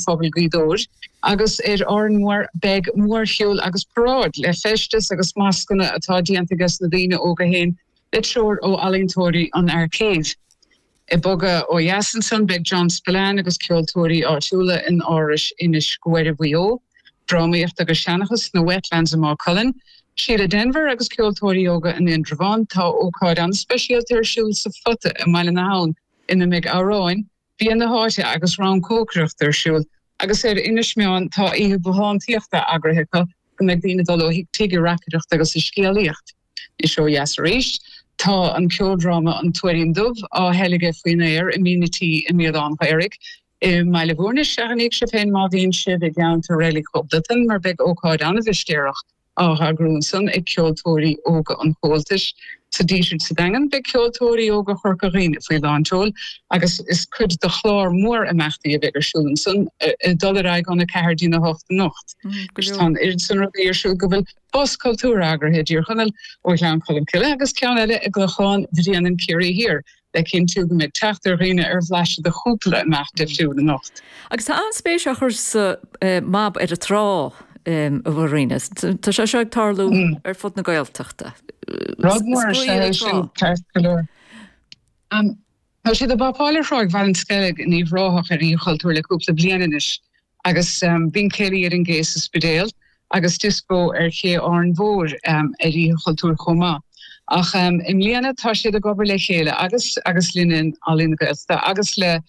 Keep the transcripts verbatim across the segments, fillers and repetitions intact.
Phobail Ghaoth Dobhair agus ar Árainn Mhór beidh mórshiúl agus paráid le feisteas agus mascanna atá déanta ages na daoine óga féin le treoir ó ealaíontóirí an Arcade. Ag bogadh ó dheas ansan beidh John Spillane agus ceoltóirí áitiúla in Áras Inis Guaire Mhaigh Eo, drámaíocht agus seanchas sna Wetlands i Maigh Cuilinn, Síle Denvir agus ceoltóirí óga in Indreabhán. Tá ócáid an-speisialta ar siúl sa Phota i mBaile na hAbhann ina mbeidh amhráin, bia na háite agus rang cócaireachta ar siúl agus ar Inis Meáin tá oíche bothántaíochta eagraithe acu go mbeidh daoine ag dul ó thigh tigh ag reacaireacht agus ag scéalaíocht. Anois ó dheas arís, tá an ceoldráma An Tuairín Dubh á theilgeadh faoin aer i Mín a' Tí i mBéal Átha an Ghaorthaidh i mBaile Bhúirne. Seachnaíodh sibh féin má bhíonn sibh i gceantar Reilig Dhubh mar beidh ócáid an-mhistéireach á heagrú ansan ag Ceoltóirí Óga an Chomhaltais. Sa Díseart sa Daingean, beidh Ceoltóirí Óga Chorca Dhuibhne faoi lán tseoil agus is cuid de chlár mór imeachtaí a bheidh ar siúl ansan ag dul ar aghaidh óna ceathair dtína hocht anocht. Tá an oiread san rudaí ar siúl go bhfuil bus cultúir eagraithe i dTír Chonaill ó Ghleann Cholm Cille agus ceann eile i gClochán Bhréanainn Ciarraí Thiar. le cinntiú go mbeidh teacht ar dhaoine ar bhlaiseadh de chúpla imeacht difriúil anocht. Agus tá an-spéis á chur sa MAB ar an trá, a Mharina. Tá sé seo ag tarlú ar fud na Gaeltachta. Rud mór is ea é sin, ceart go leor. Tá siad ag bapáil ar Thráigh Bhaill an Sceilg in Uíbh Ráthach ar Oíche Chultúir le cúpla bliain anois agus bíonn céilí ar an gcé sa Spidéal agus dioscó ar ché Árainn Mhór ar Oíche Chultúir chomh maith. Ach i mbliana tá siad ag obair le chéile agus agus linn in Ealaín na Gaeltachta agus le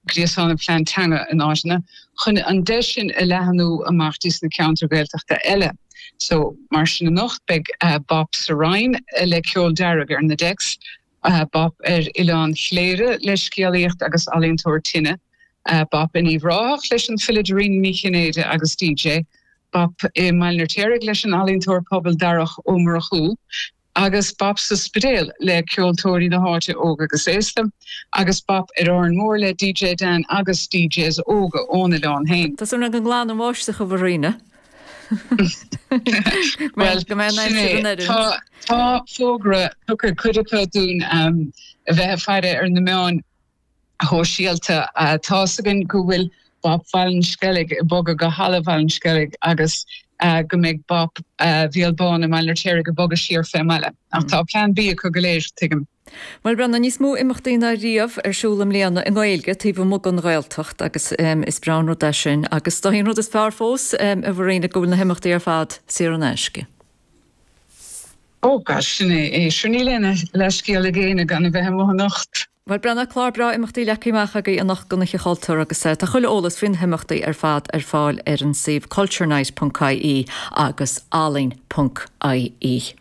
Gréasán an Phlean Teanga in áiteanna chun an deis sin a leathnú amach dtí sna ceantair Ghaeltachta eile. So mar sin anocht beidh Bap sa Rinn le ceol dearg ar na decks, Bap ar Oileán Chléire le scéalaíocht agus ealaíontóir tine, Bap in Uíbh Ráthach leis an file Dairena Ní Chinnéide agus DJ, Bap i mBaile an Fheirtéaraigh leis an ealaíontóir pobail Darach Ó Murchú, agus Bap sa Spidéal le ceoltóirí na háite óg agus aosta, agus Bap ar Árainn Mhór le DJ Dan agus DJs óga ón oileán féin. Tá súil agam go nglanann an bháisteach, a Mharina. Bhuel, go mbeidh an aimsir in oiriúint. Tá tá fógra tugtha cuid acu dúinn a bheith ag faire ar na meáin shóisialta. Tá's againn go bhfuil Bap Bhaile an Sceilg ag bogadh go Halla Bhaile an Sceilg agus go mbeidh Bap Bhéal Bán i mBaile an Fheirtéaraigh ag bogadh siar fén mbaile. Ach tá plean B acu go léir, tuigim. Bhuel, Brendan, níos mó imeachtaí ná riamh ar siúl i mbliana i nGaeilge taobh amuigh den Ghaeltacht agus is breá an rud é sin. Agus is dóigh an rud is fearr fós, a Mharina, go bhfuil na himeachtaí ar fad saor in aisce. Ó gosh, sin é é. Sure níl aon leithscéal ag éinne gan a bheith amuigh anocht. Bhuel, Brendan, clár breá imeachtaí leagtha amach agaibh anocht don Oíche Chultúir agus tá chuile eolas faoi na himeachtaí ar fad ar fáil ar an suíomh culturenight ponc ie agus ealaín ponc ie.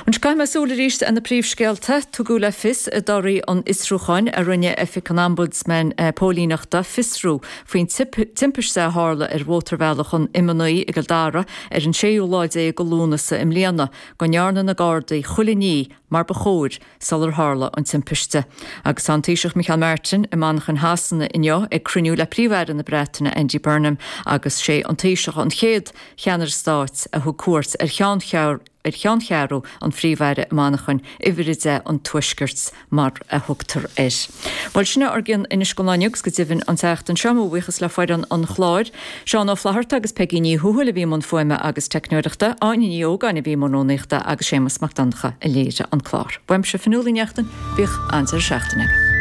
Anois caithfidh mé súil arís ar na príomhscéalta. Tugadh le fios i dtorthaí an fhiosrúcháin a rinne Oifig an Ombudsman Póilíneachta fiosrú faoin timpiste a tharla ar mhótarbhealach an M a naoi i gCill Dara ar an séú lá déag de Lúnasa i mbliana go ndearna na Gardaí chuile ní mar ba chóir sular tharla an timpiste. Agus tá an Taoiseach Micheál Martin i Manchain Shasana inniu ag cruinniú le Príomh-Aire na Breataine Andy Burnham agus sé an Taoiseach an chéad cheannaire stáit a thug cuairt ar ar cheanncheathrú an Phríomh-Aire i Manchain, Uimhir a deich an Tuaiscirt mar a thugtar air. Bhuel, sin é ár gcion anois don lá inniu agus go deimhin an tseachtain seo, mo bhuíochas le foireann an chláir, Seán Ó Flatharta agus Peigí Ní Thuathail a bhí i mbun fuaime agus teicneoireachta, Áine Ní Ógáin a bhí i mbun rúnaíochta agus Séamus Mac Donncha a léirigh an clár. Uaimse Fionnuala Ní Neachtain, bíodh an-deireadh seachtaine agaibh.